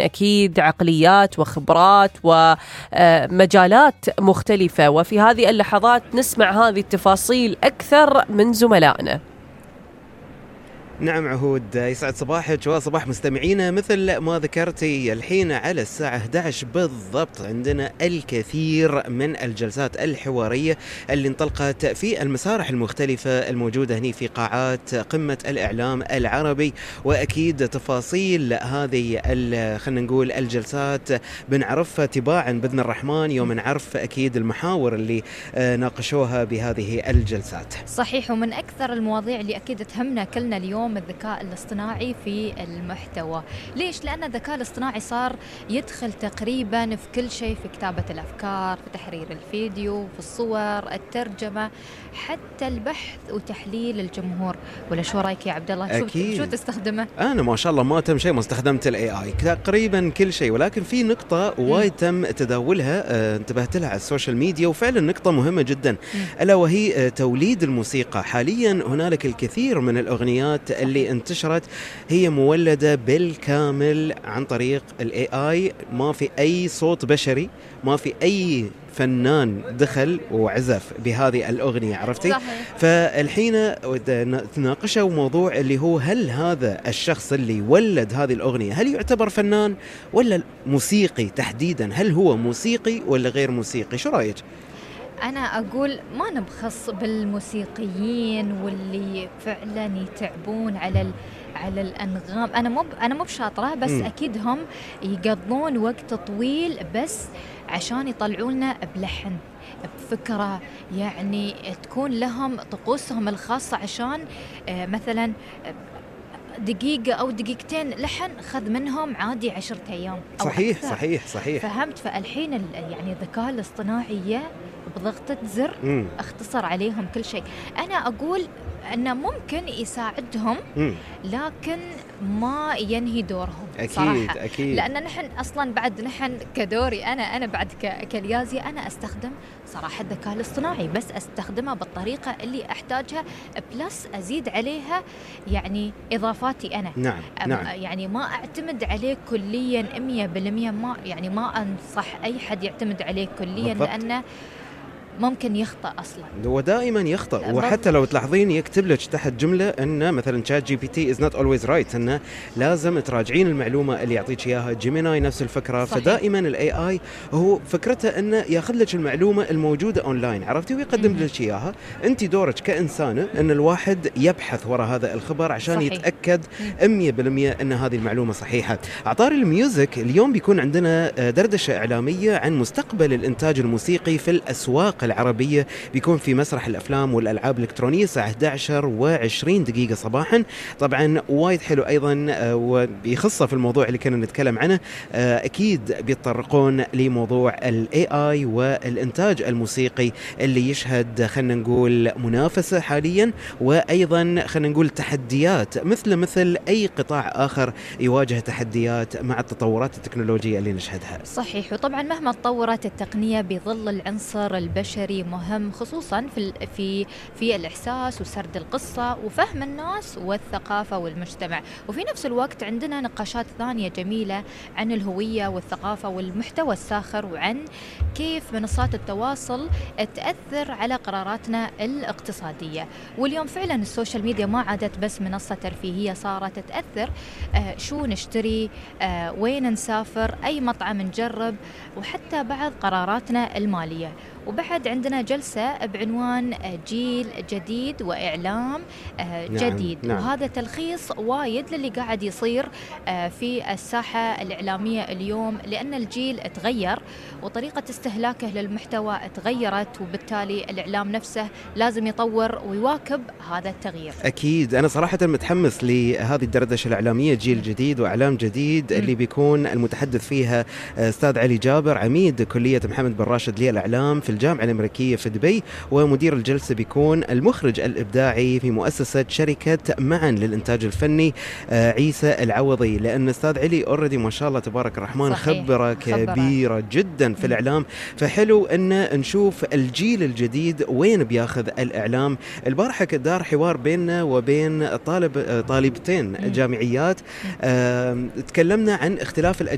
أكيد عقليات وخبرات ومجالات مختلفة، وفي هذه اللحظات نسمع هذه التفاصيل أكثر من زملائنا. نعم عهود، يسعد صباحك وصباح مستمعينا. مثل ما ذكرتي الحين على الساعة 11 بالضبط عندنا الكثير من الجلسات الحوارية اللي انطلقت في المسارح المختلفة الموجودة هنا في قاعات قمة الإعلام العربي، وأكيد تفاصيل هذه خلينا نقول الجلسات بنعرفها تباعا بإذن الرحمن يوم نعرف أكيد المحاور اللي ناقشوها بهذه الجلسات. صحيح، ومن أكثر المواضيع اللي أكيد تهمنا كلنا اليوم الذكاء الاصطناعي في المحتوى. ليش؟ لأن الذكاء الاصطناعي صار يدخل تقريبا في كل شيء، في كتابة الأفكار، في تحرير الفيديو، في الصور، الترجمة، حتى البحث وتحليل الجمهور. ولا شو رأيك يا عبد الله؟ شو تستخدمه؟ أنا ما شاء الله ما تم شيء ما استخدمت AI تقريبا كل شيء، ولكن في نقطة وايد تم تداولها انتبهت لها على السوشيال ميديا، وفعلا نقطة مهمة جدا، ألا وهي توليد الموسيقى. حاليا هنالك الكثير من الأغنيات اللي انتشرت هي مولدة بالكامل عن طريق AI، ما في أي صوت بشري، ما في أي فنان دخل وعزف بهذه الأغنية، عرفتي؟ صحيح. فالحين تناقشوا موضوع اللي هو هل هذا الشخص اللي ولد هذه الأغنية هل يعتبر فنان ولا موسيقي تحديدا؟ هل هو موسيقي ولا غير موسيقي؟ شو رأيك؟ أنا أقول ما نبخص بالموسيقيين واللي فعلا يتعبون على الأنغام. أنا مو بشاطرة، بس أكيد هم يقضون وقت طويل بس عشان يطلعولنا بلحن، بفكرة، يعني تكون لهم طقوسهم الخاصة، عشان مثلا دقيقة أو دقيقتين لحن خذ منهم عادي 10 أيام أو صحيح أكثر. صحيح. فهمت؟ فالحين يعني الذكاء الاصطناعي بضغطة زر اختصر عليهم كل شيء. أنا أقول أنه ممكن يساعدهم، لكن ما ينهي دورهم. أكيد صراحة. أكيد. لأن نحن أصلا بعد نحن كدوري أنا بعد كاليازي أنا أستخدم صراحة الذكاء الاصطناعي، بس أستخدمها بالطريقة اللي أحتاجها، بلس أزيد عليها يعني إضافاتي أنا. نعم. يعني ما أعتمد عليه كليا 100%. ما أنصح أي حد يعتمد عليه كليا بالضبط. لأنه ممكن يخطأ أصلا، هو دائما يخطأ. وحتى لو تلاحظين يكتب لك تحت جملة أن مثلا ChatGPT is not always right، أنه لازم تراجعين المعلومة اللي يعطيك إياها. جيميناي نفس الفكرة. صحيح. فدائما ال AI هو فكرته أنه ياخذ لك المعلومة الموجودة أونلاين، عرفتي، ويقدم لك إياها. أنت دورك كإنسانة أن الواحد يبحث وراء هذا الخبر عشان صحيح. يتأكد 100% أن هذه المعلومة صحيحة. عطار الميوزك اليوم بيكون عندنا دردشة إعلامية عن مستقبل الإنتاج الموسيقي في الأسواق العربية، بيكون في مسرح الأفلام والألعاب الإلكترونية الساعة 11:20 صباحا. طبعا وايد حلو أيضا وبيخصه في الموضوع اللي كنا نتكلم عنه. أكيد بيتطرقون لموضوع ال AI والإنتاج الموسيقي اللي يشهد خلنا نقول منافسة حاليا، وأيضا خلنا نقول تحديات مثل أي قطاع آخر يواجه تحديات مع التطورات التكنولوجية اللي نشهدها. صحيح. وطبعا مهما تطورت التقنية بيظل العنصر البشري مهم، خصوصا في الإحساس وسرد القصة وفهم الناس والثقافة والمجتمع. وفي نفس الوقت عندنا نقاشات ثانية جميلة عن الهوية والثقافة والمحتوى الساخر، وعن كيف منصات التواصل تأثر على قراراتنا الاقتصادية. واليوم فعلا السوشيال ميديا ما عادت بس منصة ترفيهية، صارت تأثر شو نشتري، وين نسافر، أي مطعم نجرب، وحتى بعض قراراتنا المالية. وبعد عندنا جلسة بعنوان جيل جديد وإعلام جديد. نعم. وهذا تلخيص وايد للي قاعد يصير في الساحة الإعلامية اليوم، لأن الجيل تغير وطريقة استهلاكه للمحتوى تغيرت، وبالتالي الإعلام نفسه لازم يطور ويواكب هذا التغيير. أكيد. أنا صراحة متحمس لهذه الدردشة الإعلامية، جيل جديد وإعلام جديد، اللي بيكون المتحدث فيها أستاذ علي جابر، عميد كلية محمد بن راشد للإعلام في الجامعة الأمريكية في دبي، ومدير الجلسة بيكون المخرج الإبداعي في مؤسسة شركة معا للإنتاج الفني عيسى العوضي. لأن أستاذ علي أوريدي ما شاء الله تبارك الرحمن خبرة كبيرة جدا في الإعلام، فحلو أن نشوف الجيل الجديد وين بياخذ الإعلام. البارحة دار حوار بيننا وبين طالبتين جامعيات، تكلمنا عن اختلاف الأجيال